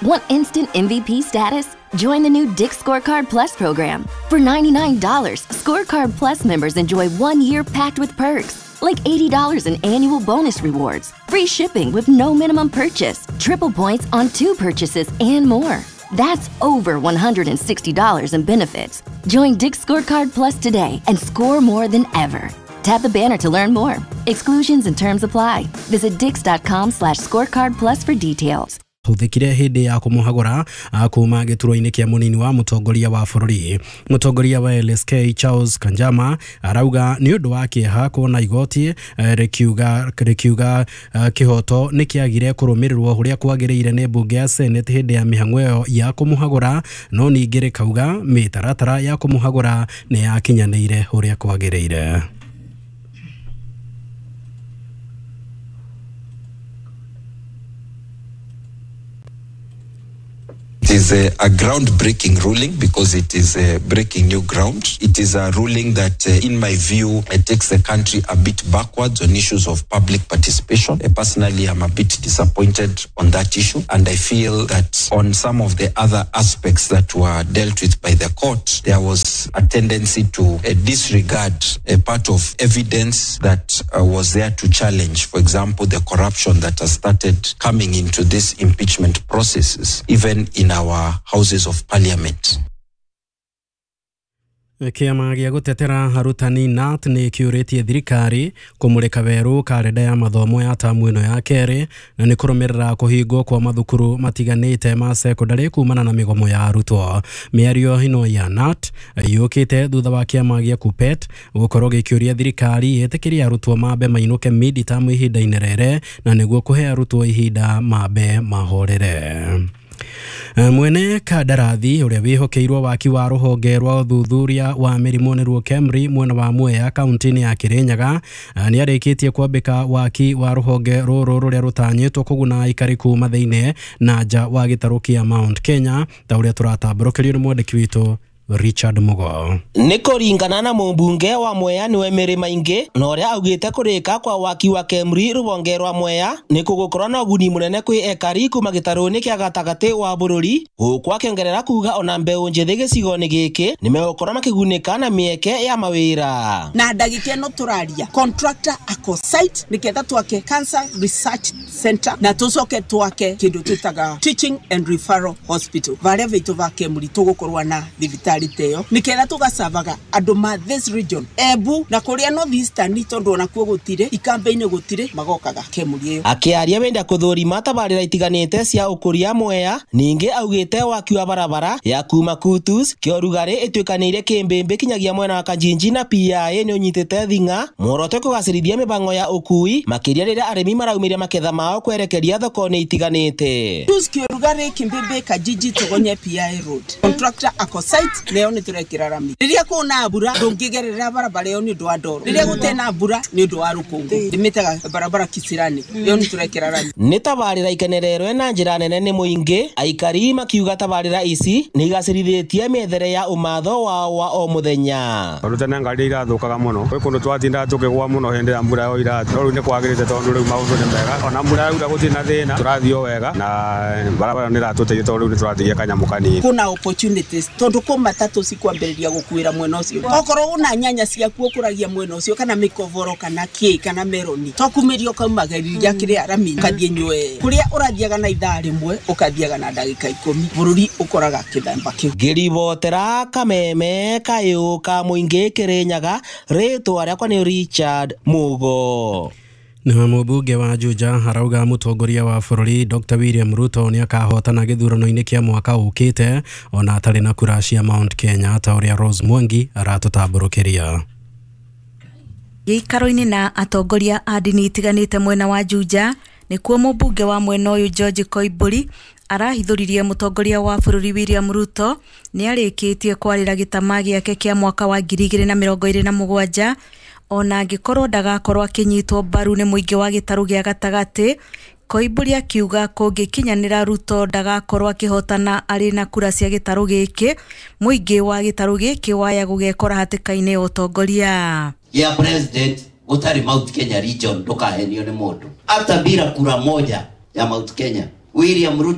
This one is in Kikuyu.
Want instant MVP status? Join the new Dick's Scorecard Plus program. For $99, Scorecard Plus members enjoy 1 year packed with perks, like $80 in annual bonus rewards, free shipping with no minimum purchase, triple points on two purchases, and more. That's over $160 in benefits. Join Dick's Scorecard Plus today and score more than ever. Tap the banner to learn more. Exclusions and terms apply. Visit dicks.com/scorecard plus for details. Huthikire hindi ya kumuhagura kuma giturwa-ini kia munini wa mutongoria wa bururi. Mutongoria wa LSK Charles Kanjama arauga ni undu wa kieha kuona igoti rikiuga kihoto ni kiagire kurumirirwo uria kwagiriire ni mbunge ya Senate hindi ya mihango iyo ya kumuhagura, no ningi rikauga mitaratara ya kumuhagura ni yakinyanire uria kwagiriire. It is a groundbreaking ruling because it is breaking new ground. It is a ruling that, in my view, takes the country a bit backwards on issues of public participation. Personally, I'm a bit disappointed on that issue, and I feel that on some of the other aspects that were dealt with by the court, there was a tendency to disregard a part of evidence that was there to challenge, for example, the corruption that has started coming into these impeachment processes, even in our houses of parliament. Kĩama gĩa gũtetera arutani KNUT nĩ kĩũrĩtie thirikari kũmũrĩka werũ karenda ya mathomo ya tamu ĩno ya kerĩ, na nĩ kũrũmĩrĩra kũhingwo kwa mathukuru matiganĩte ma sekondarĩ kumana na mĩgomo ya arutwo. Mĩario ĩno ya KNUT yũkĩte thutha wa kĩama gĩa KUPPET gũkorwo gĩkĩũria thirikari ĩtĩkĩrie arutwo mambe mainũke mid tamu ihinda-inĩ rĩrĩ, na nĩguo kũhe arutwo ihinda mambe mahorere. Mwene kandarathi ũrĩa wĩhokeirwo waki wa rũhonge rwa ũthuthuria wa mĩrimũ nĩruo KEMRI mwena wa Mwea kaunti-inĩ ya Kirinyaga nĩ arĩkĩtie kwambĩka waki wa rũhonge rũrũ rũrĩa rũtanyĩtwo kũguna aikari kuma thĩinĩ na nja wa gĩtarũ kĩa Mount Kenya, ta ũrĩa tũratambũrũkĩrio nĩ mwandĩki witũ Richard Mugo. Nĩ kũringana na mũmbunge wa Mwea nĩwe Mary Maingi, na ũrĩa augĩte kũrĩka kwa waki wa KEMRI rũhonge rwa Mwea nĩ kũgũkorwo na ũguni mũnene kwĩ ekari kuma gĩtarũ-inĩ kĩa gatagatĩ wa bũrũri, gũkũ akĩongerera kuga ona mbeũ njĩthĩ gĩcigo-inĩ gĩkĩ nĩmegũkorwo makĩgunĩka na mĩeke ya mawĩra. Na ndagĩka ĩno tũraria contractor ako site nĩgetha twake Cancer Research Center na tũcoke twake kĩndũ twĩtaga Teaching and Referral Hospital varĩa vitũ va KEMRI tũgũkorwo na thibitarĩ teyo niketha tugacavaga andu ma this region Embu na kuria North Eastern tondu onakuo gutire ikambe-ini gutire magokaga KEMRI iyo. Akiaria wenda kuthurima tabarira itiganite cia ukuria Mwea, ningi augite waki wa barabara ya kuma Kutus Kiorugari ituikanire Kimbimbi kinyagia mwena wa Kanjinji na PIA ni unyitite thinga muoroto kugacirithia mibango ya ukui makiria riria arimi maraumiria maketha mao kwerekeria thoko-ini itiganite. Kutus Kiorugari Kimbimbi Kanjinji Tugonye PIA road contractor ako site leo ni turekira rami riria kuna mbura ndungigerera barabara iyo ni undu wa ndoro, riria gutena mbura ni undu wa rukungu ndimitaga barabara kisirani leo ni turekira rami. Ni tabarira ikenererwe na njira nene ni muingi aikari makiuga tabarira ici ni igacĩrithitie mĩethere ya umatho wao wa o muthenya. Tondu tene ngari irathukaga muno kwi kundu twatindaga tukigwa muno hindi ya mbura yoira, no riu ni kwagirite tondu riu maundu ni mega, ona mbura yaura gutiri na thina turathii o wega na barabara ni iratuteithia tondu riu ni turatigia kanyamu kanini. Kuna opportunities tondu ku matatu cikwambĩrĩria gũkuĩra mwena ũcio, okorwo una nyanya ciaku ũkũragia mwena ũcio kana mĩkoboro kana kĩ kana meroni to kumĩria ũkaumagĩrĩria kĩrĩa rami ũkathiĩ nyue kũrĩa ũrathiaga na ithaa rĩmwe ũkathiaga na ndagĩka 10 bũrũri ũkoraga kĩthemba kĩu. Ngĩribotera kameme kayũ ka mũingĩ Kĩrĩnyaga, rĩtwa rĩakwa nĩ Richard Mugo. Na mũmbunge wa Juja arauga mũtongoria wa bũrũri Dr. William Ruto nĩ akahotana gĩthurano-inĩ kĩa mwaka ũkĩte ona atarĩ na kura cia Mount Kenya, ta ũrĩa Rose Mwangi aratũtambũrũkĩria. Gĩikaro-inĩ na atongoria a ndini itiganĩte mwena wa Juja nĩkuo mũmbunge wa mwena ũyũ George Koimbũri arahithũririe mũtongoria wa bũrũri William Ruto nĩ arĩkĩtie kwarĩra gĩtama gĩake kĩa mwaka wa 2027 ona angĩkorwo ndagakorwo akĩnyitwo mbaru nĩ mũingĩ wa gĩtarũ gĩa gatagatĩ. Koimbũri akiuga kũngĩkinyanĩra Ruto ndagakorwo akĩhotana arĩ na kura cia gĩtarũ gĩkĩ, mũingĩ wa gĩtarũ gĩkĩ waya gũgekora hatĩka-inĩ ya ũtongoria ya president gũtarĩ Mount Kenya region ndukahenio nĩ mũndũ hata bila kura moja ya Mount Kenya. William Ruto